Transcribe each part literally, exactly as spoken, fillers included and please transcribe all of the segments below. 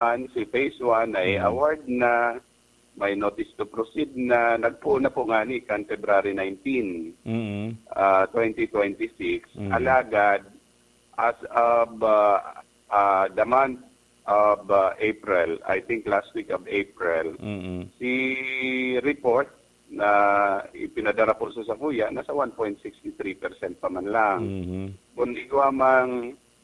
si phase one ay Mm. award na, may notice to proceed na, nagpoon na po ngani kan February nineteen, Mm. ah, twenty twenty-six. Mm. Alagad, as of, ah, ah, the month of, ah, April, I think last week of April, Mm. si report na ipinadara po sa sakuya, nasa one point six three percent pa man lang. Mhm. Kung igwa mang,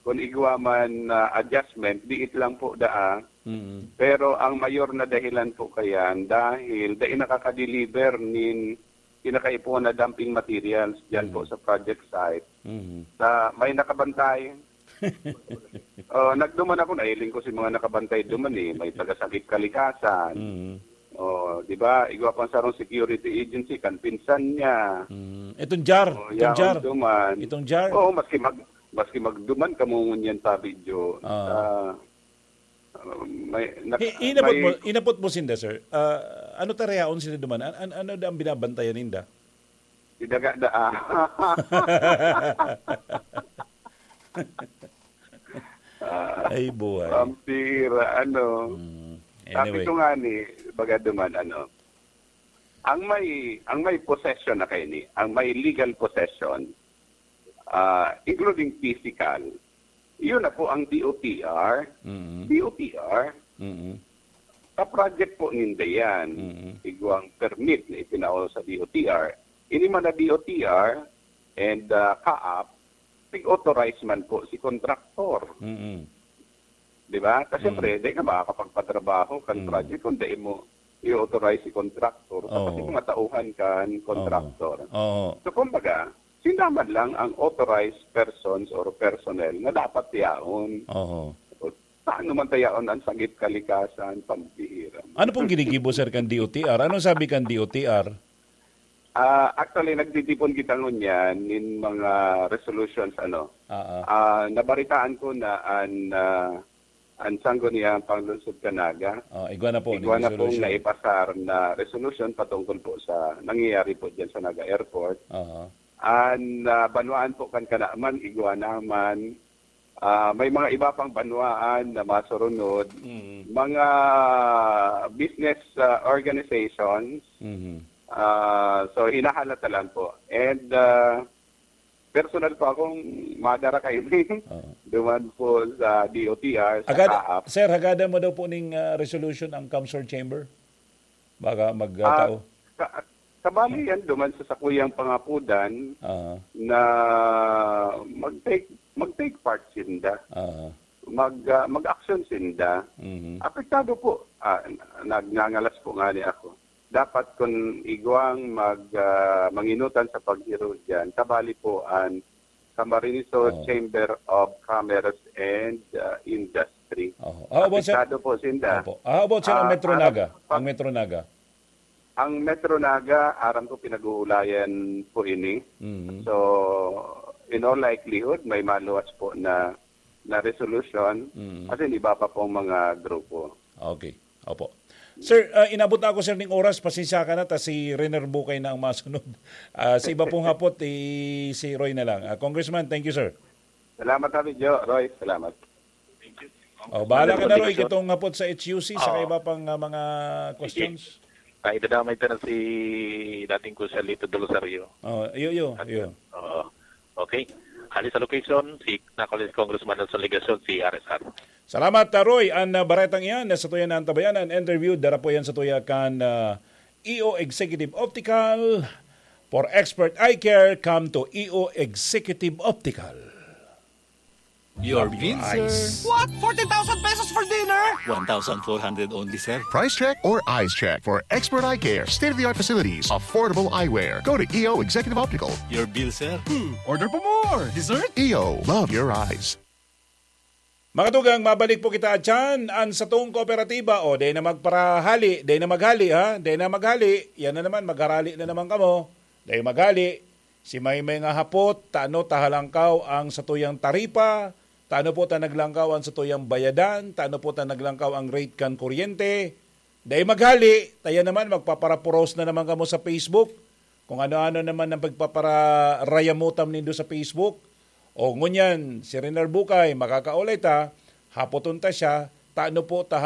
kung igwa man na adjustment, diit lang po daa. Mhm. Pero ang mayor na dahilan po kayan, dahil dai nakaka-deliver nin kinakaipuhan na dumping materials dyan po Mhm. sa project site. Mhm. Sa may nakabantay, oh, nagduman ako, nahiling ko si mga nakabantay duman eh. May taga-Sagip Kalikasan. Mhm. Oh, di ba? Igwa pang sarong security agency, kan pinsan niya. Mm. Itong jar, Oh, itong yaon jar. duman. Itong jar. Oo, maski mag-, maski magduman kamo ngunyan pa video. Ah. Ah, may, nak-, Hi-, inabot mo, may inabot mo sinda, sir. Ah, ano ta rayaon sila duman? An-, an-, ano da ang binabantayan ninda? Di daga da, ah. Ah, Ay, buhay. Pampira, ano. Mm. Sabi Anyway. ko nga ni, baga duman, ano, ang may, ang may possession na kayo ni, ang may legal possession, ah, including physical, yun na po ang D O T R. Mm. D O T R, Mm. Sa project po ninda yan, Mm. igwang permit na itinaon sa D O T R. Ini man na D O T R and, ah, CAAP, nag-authorize man po si contractor. Mm. Di ba? Kasi Mm. siyempre, di ka makakapagpatrabaho kan Mm. project kung di mo i-authorize si contractor. Tapos Oo. yung mga tauhan kan Oo. contractor. Oo. So, kumbaga, sinda man lang ang authorized persons or personnel na dapat yaon. Oo. Paano man tayaon ang Sagip Kalikasan, pampihira? Ano pong ginigibo, sir, kan D O T R? Anong sabi kan D O T R? Ah, actually, nagtitipon kita ngunyan nin mga resolutions, ano. Ah, ah. Ah, nabaritaan ko na an, ah, an Sangguniang Panlungsod kan Naga, Oh, igwa na po, igwa na pong resolution. naipasar na resolution patungkol po sa nangyayari po dyan sa Naga Airport. Aha. An, ah, banwaan po kan Kanaman, igwa naman. Ah, may mga iba pang banwaan na masurunod. Mm. Mga business, ah, organizations. Mhm. Ah, so, hinahalata lang po. And, ah, personal po akong madara kayo Oo. duman po sa D O T R, sa Agad, CAAP. sir, hagadan mo daw po ning, ah, resolution ang CamSur Chamber? Baka mag, ah, Ah, tao. ka-, kabali yan duman sa sakuyang pangapudan Aha. na mag-take, mag-take part sinda. Aha. Mag, ah, mag-action sinda. Mhm. Apektado po. Ah, nagngangalas po nga ni ako. Dapat kun igwang mag, ah, manginutan sa paghiro diyan, kabali po an Camarines Sur Oo. Chamber of Commerce and, ah, Industry. Oo. How about, sir? Apektado po sinda. Opo. How about, sir, ang Ah, Metro Naga? harap pa Ang Metro Naga? Ang Metro Naga, aram ko pinag-uulayan po ini. Mhm. So, in all likelihood, may maluwas po na, na resolution. Mhm. As in, iba pa pong mga grupo. Okay. Opo. Sir, ah, inabot na ako, sir, ning oras. Pasensya ka na, ta si Rener Bukay na ang masunod. Ah, sa iba pong hapot, i-, si Roy na lang. Ah, Congressman, thank you, sir. Salamat, Abi Jo. Roy, salamat. Oh, bahala ka na, Roy, Congressman. Kitong hapot sa H U C, sa Oo. iba pang, ah, mga Sige. questions. Ay, dadamay ta na si dating Congressman Lito Del Rosario. Oh, iyo, iyo, At, iyo. oo. Okay. Hali sa location, si, na Congressman Nelson Legacion, si R S R. Salamat, ah, Roy. An, ah, baretang iyan, na sa tuya na ang tabayan, an interview, dara po yan sa tuya kan, ah, E O Executive Optical. For expert eye care, come to E O Executive Optical. Your bill, sir. What? Forty thousand pesos for dinner? One thousand four hundred only, sir. Price check or eyes check for expert eye care, state-of-the-art facilities, affordable eyewear. Go to E O Executive Optical. Your bill, sir. Hmm, order pa more. Dessert? E O, love your eyes. Mga tugang, mabalik po kita dyan. An satong kooperatiba, o, dai na magparahali, dai na maghali, ha? Dai na maghali. Yan na naman, magharali na naman kamo. Dai maghali. Si may mga hapot, tano ta halangkaw ang satuyang taripa, tano po ta naglangkaw ang satuyang bayadan, tano po ta naglangkaw ang rate kan kuryente. Dai maghali, ta yan naman, magpaparapuros na naman kamo sa Facebook. Kung ano-ano naman ang pagpapararayamutam nindo sa Facebook. O ngunyan, si Rener Bukay, makakaulay ta, hapoton ta siya, tano po ta